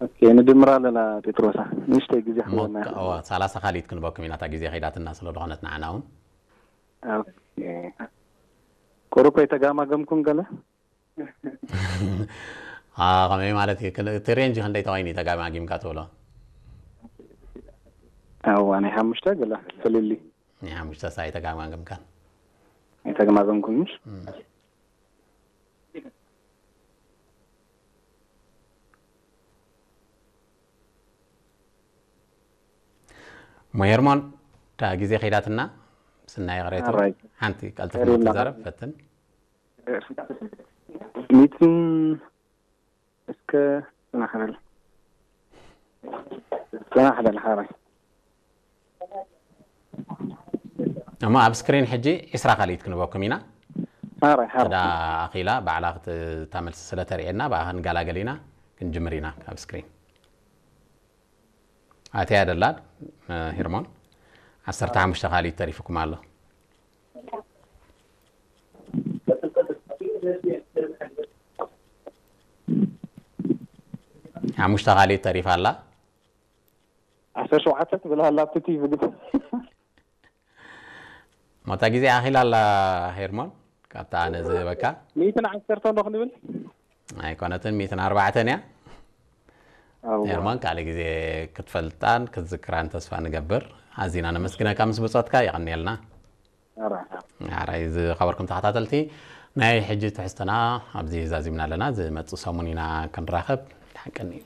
ኦኬ፣ ንድምራ ኣለና ጴጥሮሳ። ንእሽተይ ግዜ እሞ ክህበና። ክ- እዋ፣ ሰላሳ ካልኢት ክንበኩም ኢና፣ እታ ግዜ ከይዳትና ስለ ዝኾነት ንዓና እውን። ኦኬ። ቁሩብ ከይተጋማገምኩም ገለ? አ፣ ከመይ ማለት እዩ? ክን- እቲ ሬንጅ ክንደይ ተባይኒ ተጋማጊምካ ትብሎ? እዋ፣ ናይ ሓሙሽተ ገለ ፍልልይ። ናይ ሓሙሽተ ሳይ ተጋማገምካን። ኣይተጋማገምኩምሽ? እሞ ሄርሞን፣ እታ ግዜ ከይዳትና፣ ስናይ ቅሬቱ ኣራይ። ሓንቲ ቀልጥፍ ሄርሞን ትዛረብ ፈትን። ሚትን እስከ ጽናሕ በል። ጽናሕ በል ሓራይ። እሞ ኣብ ስክሪን ሕጂ ዒስራ ካልኢት ክንበኩም ኢና። ሓራይ፣ ሓራይ። እዳ ኣኺላ ባዕላ ክት- እታ መልሲ ስለ ተርእየና ብኣ ክንገላገል ኢና። ክንጅምር ኢና ካብ ስክሪን። ኣተያ ደላ፣ እ፣ ሄርሞን፣ ዓሰርተ ሓሙሽተ ካልኢት ተሪፉኩም ኣሎ። ሓሙሽተ ካልኢት ተሪፋ ኣላ። ዓሰርተ ሸውዓተ ትብል ኣላ ኣብቲ ቲቪ ግን። ሞታ ግዜ ኣኺላ ኣላ ሄርሞን፣ ካብታ ኣነ ዝህበካ። ሚእትን ዓሰርተ እንዶ ክንብል? ኣይኮነትን፣ ሚእትን ኣርባዕተን እያ። ኣዋ። ሄርሞን፣ ካልእ ግዜ ክትፈልጣን ክትዝክራን ተስፋ ንገብር። ኣዚና ነመስግነካ ምስ ብጾትካ፣ የቐንየልና። ኣራ። ኣራይ ዝኸበርኩም ተኸታተልቲ፣ ናይ ሕጂ ትሕዝቶና ኣብዚ ዛዚምና ኣለና። ዝመጽእ ሰሙን ኢና ክንራኸብ። ሓቀኒ እዩ።